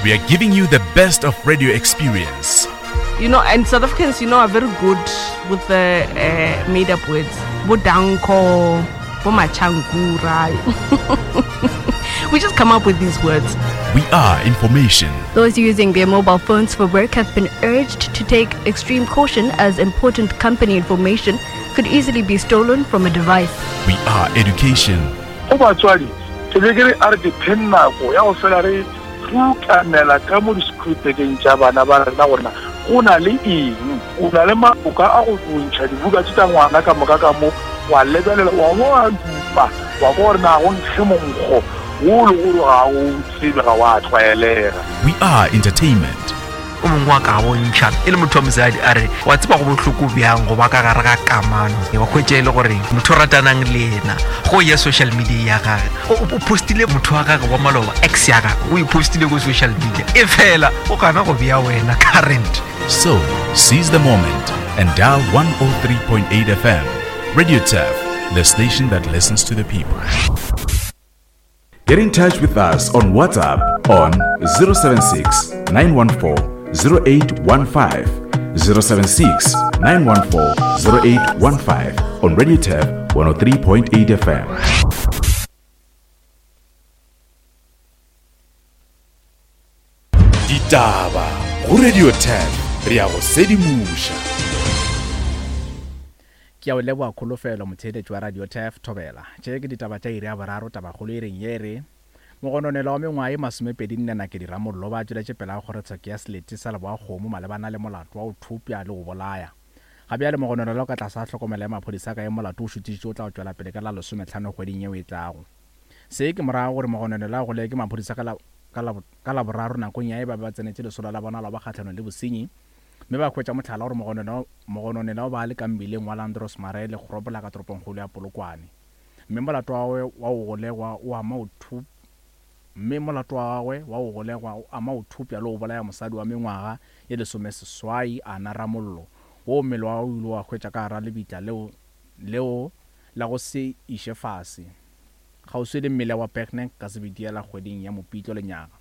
We are giving you the best of radio experience. You know, and South Africans, you know, are very good with the uh, made up words. Bodanko, Bomachankura. we just come up with these words. We are information. Those using their mobile phones for work have been urged to take extreme caution as important company information could easily be stolen from a device. We are education. Go batswadi, ke be ke re a re dipheng nako ya go fela re rukanela ka mo disekhuritekeng tša bana ba rena gore na go na le eng. O na le maloka a go ntšha dibuka tše tša ngwana ka moka ka mo, wa lebelela, wa bo wa dupa, wa kwa gore na go nkge monkgo wo le gore ga o tsebe, ga wa tlwaelega. We are entertainment. O mongwe wa ka bontšha e le motho wa mosadi a re wa tseba go bohloko bjang go ba ka gare ga kamano wa hwetša e le gore motho o ratanang le yena go ya social media ya gage o postile motho wa gage wa maloba ex ya gage o e postile ko social media e fela o gana go bea wena current. So, seize the moment and dial 103.8 FM. Radio Turf, the station that listens to the people. Get in touch with us on WhatsApp on 076 914 0815. 076 914 0815 on Radio Turf 103.8 FM. Ditaba go Radio 10 re ya go sedimoša. Ke a o leboga Kholofelo, motheeletši wa Radio Turf, Thobela. Tše ke ditaba tša iri ya boraro, tabakgolo e reng ye re, Mogononelwa wa mengwaga ye masomepedi-nne Nakedi Ramollo ba tšweletše pele ga kgorotsheko ya selete sa Leboakgomo malebana le molato wa go thopša le go bolaya. Ga bjale mogononelwa o ka tlase ga tlhokomelo ya maphodisa ka ge molato o šuthišitšwe o tla tšwela pele ka la lesometlhano kgweding yeo e tlago. Se ke morago gore mogononelwa a golegwe ke maphodisa ka la, ka la, ka Laboraro nakong ya ge ba be ba tsenetše lesolo la bona la go ba kgahlanong le bosenyi mme ba hwetša mohlala gore mogononelwa, mogononelwa o ba a le ka mmileng wa Landros Marais le Grobler ka toropongkgolo ya Polokwane. Mme molato wa gagwe wa go golegwa o ama go thup, mme molato wa gagwe wa go golegwa o ama go thupša le go bolaya mosadi wa mengwaga ye lesomeseswai, Ana Ramollo, woo mmele wa gagwe o ile wa hwetša ka gara lebitla leo, leo la go se iše fase. Kgauswi le mmila wa Bergnek ka Sebediela kgweding ya Mopitlo lenyaga.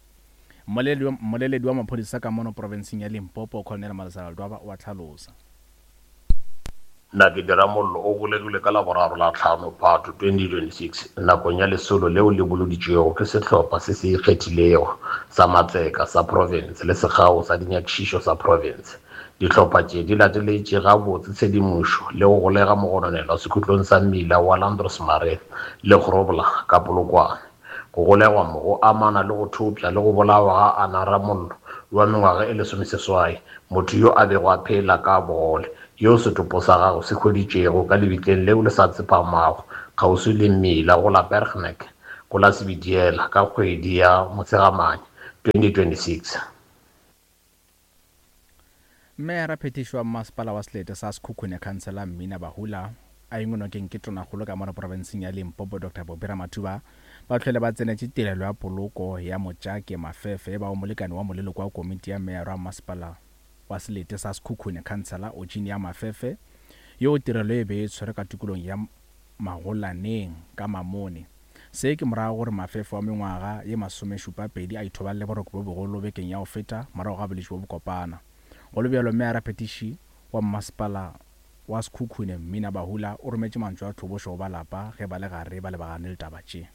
Mmoleledi wa, mmoleledi wa maphodisa ka mono profenseng ya Limpopo, Colonel Malesela Ledwaba o a hlalosa. Nakedi Ramollo o golegilwe ka Laboraro la hlano Phato 2026 nakong ya lesolo leo le boloditšwego ke sehlopha se se ikgethilego sa matseka sa profense le sekgao sa dinyakišišo sa profense. Dihlopha tše di lateletše gabotse tshedimošo le go golega mogononelwa sekhutlong sa mmila wa Landros Marais le Grobler ka Polokwane. Go golegwa mo go amana le go thopša le go bolawa ga Anna Ramollo wa mengwaga e lesomeseswai, motho yo a bego a phela ka bogole, yo setopo sa gagwe se hweditšwego ka lebitleng leo le sa tsepamago kgauswi le mmila go la Bergnek go la Sebediela ka kgwedi ya Motshegamanya 2026. Meyara phethiši wa mmasepala wa selete sa Sekhukhune Khansela Mmina Bahula a engwe nokeng ke Tonakgolo ka mono profenseng ya Limpopo Doctor Bobby Ramathuba ba hlwele ba tsenetše tirelo ya poloko ya Motšake Mafefe e bago molekane wa moleloko wa komiti ya meyara wa mmasepala wa selete sa Sekhukhune Khansela Oginia Mafefe yoo tirelo e be e tshwerwe ka tikolong ya Magolaneng ka Mamone. Se ke morago gore Mafefo wa mengwaga ye masomešupapedi a ithobalele boroko bjo bogolo bekeng ya go feta morago ga bolwetši bjo bokopana. Go le bjalo, Meyara Phetiši wa Mmasepala wa Sekhukhune, Mmina Bahula, o rometše mantšu a tlhobošo go ba lapa ge ba le gare ba lebagane le taba tše.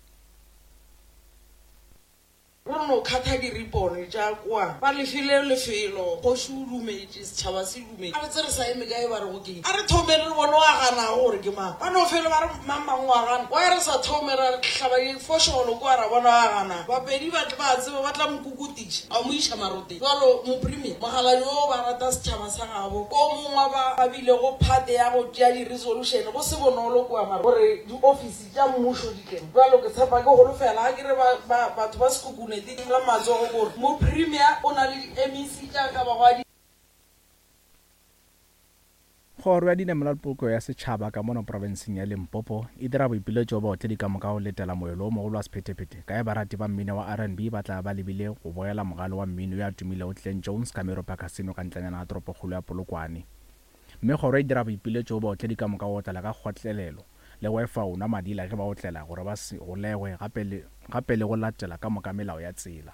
Re no khatha diripone tša kwa. Ba le file lefelo. Kgoši o dumetše, setšhaba se dumetše. A re tse re sa eme kae ba rego keng? A re thomeng re bone o a ganago gore ke mang. Ba no fele ba re mang mang o a gana. Why re sa thome ra hlaba difošolo kwa ra bona o a ganago? Bapedi ba ba a tseba ba tla mo kukutiša ba mo iša maroteng. Bjalo Mopremier, mokgalabje wo ba rata setšhaba sa gabo. O mongwe wa ba ba bilego phate ya go tšea di-resolution go se bonolo kua mara gore diofisi Tša mmušo di tleng. Bjalo ke tshepa, ke holofela, ga ke re ba, ba, batho ba Sekhukhune di la matsogo gore Mopremier o na le di-MEC tša ka bago a di. Kgoro ya Dinamelwa le Polokego ya Setšhaba ka mono profenseng ya Limpopo e dira boipiletšo go baotledi ka moka go letela moelo o mogolo wa sephethephethe ka ge barati ba mmino wa RnB ba tla ba lebile go bogela mogale wa mmino yo a tumilego Glen Jones ka Meropa Casino ka ntlanyana ga toropokgolo ya Polokwane. Mme kgoro e dira boipiletšo go baotledi ka moka go otlela ka kgotlelelo le go efa o nwa madila ge ba otlela gore ba se golegwe gape le gape le go latela ka moka melao ya tsela.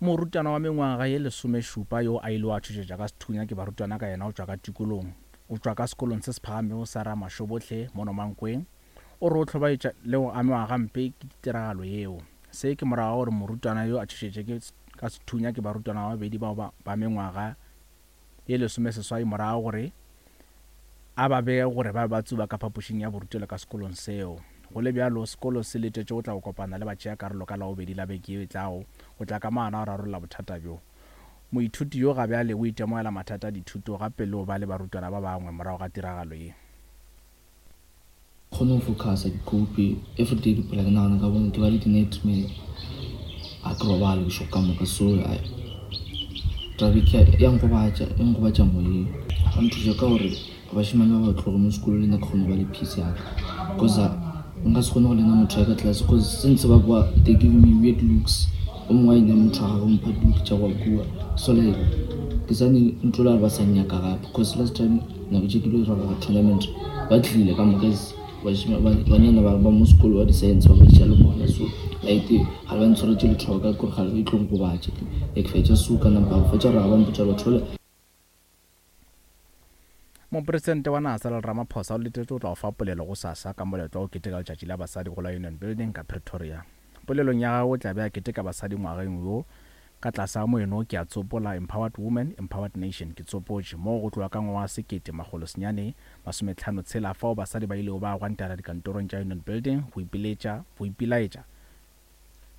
Morutwana wa mengwaga ye lesomešupa yo a ilego a tšhošetšwa ka sethunya ke barutwana ka yena o tšwa ka tikolong o tšwa ka sekolong se se phagamego sa Ramashobohle mono Mankweng o re o hlobaetša le go amewa gampe ke tiragalo yeo. Se ke morago ga gore morutwana yo a tšhošetše ke ka sethunya ke barutwana ba babedi bao ba ba mengwaga ye lesomeseswai morago gore a ba bege gore ba be ba tsuba ka phapošing ya borutelo ka sekolong seo. Go le bjalo, sekolo se letetše go tla go kopana le batšeakarolo ka Labobedi la beke yeo e tlago go tla ka maano a go rarolla bothata bjo. Moithuti yo ga bjale o itemogela mathata a dithuto gape le go ba le barutwana ba bangwe morago ga tiragalo ye. Kgone go focusa ke cope everyday ke phela ke nagana ka bone ke ba le di-nightmare ga ke robale bošego ka moka so taba ya nkobatša e nkobatša moyeng ba nthuša ka gore bašemane ba ba tloge mo sekolong le nna ke kgone go ba le peace yaka cause nka se kgone go lena motho ya ka tlase cause since ba kwa they give me weird looks o mongwe a ina motho wa gagwe mpha di-look tša go kua so like ke sane ntlola gore ba sa nnyaka gape cause last time nako tše ke lo dira go tournament ba tlile ka moka banyana ba mo sekolo wa di-science ba ba le bona so like ga ba ntshwaretse lethoka kore ga e tlong gobatše ke fetša so ka nampa go fetša gore ga ba mpotša batho bale. Mopresidente wa naga Cyril Ramaphosa o letetšwe go tla go fa polelo gosasa ka moletlo wa go keteka Letšatši la Basadi go la Union Building ka Pretoria. Polelong ya gagwe o tla be a keteka basadi ngwageng wo ka tlase ga moeno Ke a Tsopola, Empowered Woman, Empowered Nation, Ke Tsopotše, moo go tloga ka ngwaga wa 1956 fao basadi ba ilego ba gwantela dikantorong tša Union Building go ipiletša, go ipelaetša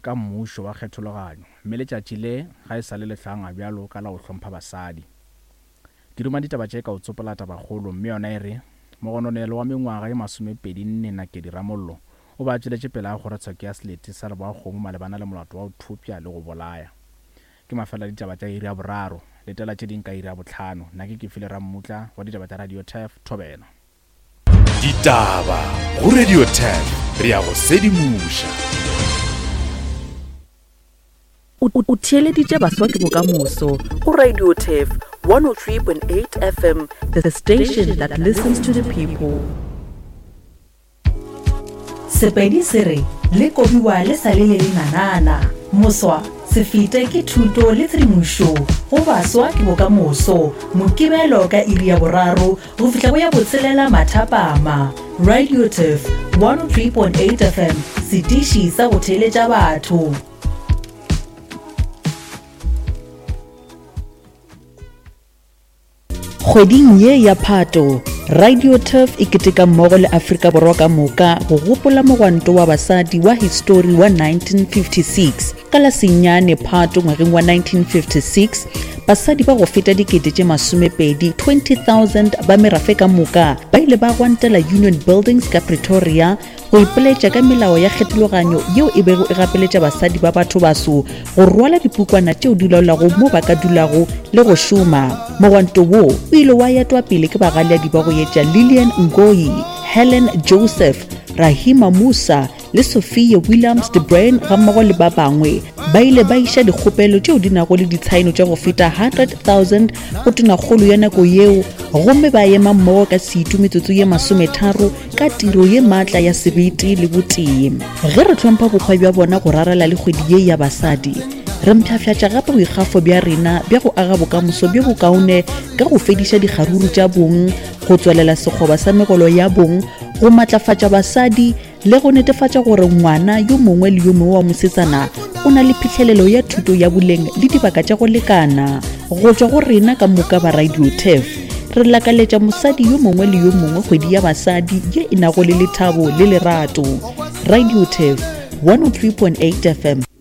ka mmušo wa kgethologanyo, mme letšatši le ga e sa le le hlangwa bjalo ka la go hlompha basadi. Ke duma ditaba tše ka go tsopola tabakgolo, mme yona e re, Mogononelo wa mengwaga ye masomepedi-nne Nakedi Ramollo o be a tšweletše pele ga kgorotsheko ya selete sa Leboakgomo malebana le molato wa go thopša le go bolaya. Ke mafelo a ditaba tša iri ya boraro. Letela tše ding ka iri ya bohlano. Nna ke Kefile Rammutla wa ditaba tša Radio Turf, Thobela. Ditaba go Radio Turf, re a go sedimoša. O theeleditše Baswa ke Bokamoso go Radio Turf 103.8 FM, the station that listens to the people. Sepedi se re le kobiwa le sa le le lenanana. Moswa, se fete ke thuto le tshedimošo go Baswa ke Bokamoso, Mokibelo ka iri ya boraro go fihla go ya botshelela mathapama. Radio Turf 103.8 FM, setiši sa go theeletša batho. Kgweding ye ya Phato, Radio Turf e keteka mmogo le Afrika Borwa ka moka go gopola mogwanto wa basadi wa histori wa 1956. Ka la senyane Phato ngwageng wa 1956, basadi ba go feta dikete tše masomepedi 20,000 ba merafe ka moka ba ile ba gwantela Union Buildings ka Pretoria go ipoletša ka melao ya kgethologanyo yeo e bego e gapeletša basadi ba bathobaso go rwala dipukwana tšeo di laolago mo ba ka dulago le go šoma. Mogwanto wo o ile wa etwa pele ke bagaleadi ba go etša Lillian Ngoyi, Helen Joseph, Rahima Moosa le Sophia Williams de Bruyn gammogo le ba bangwe. Ba ile ba iša dikgopelo tšeo di nago le ditshaeno tša go feta 100,000 go tonakgolo ya nako yeo gomme ba ema mmogo ka setu metsotso ye masometharo ka tiro ye maatla ya sebete le botee. Ge re hlompha bohwa bja bona go rarela le kgwedi ye ya basadi, re mpshafšatša gape boikgafo bja rena bja go aga bokamoso bjo bokaone ka go fediša dikgaruru tša bong, go tswalela sekgoba sa megolo ya bong, go matlafatša basadi le go netefatša gore ngwana yo mongwe le yo mongwe wa mosetsana o na le phihlelelo ya thuto ya boleng le dibaka tša go lekana. Go tšwa go rena ka moka ba Radio Turf, re lakaletša mosadi yo mongwe le yo mongwe kgwedi ya basadi ye e nago le lethabo le lerato. Radio Turf 103.8 FM.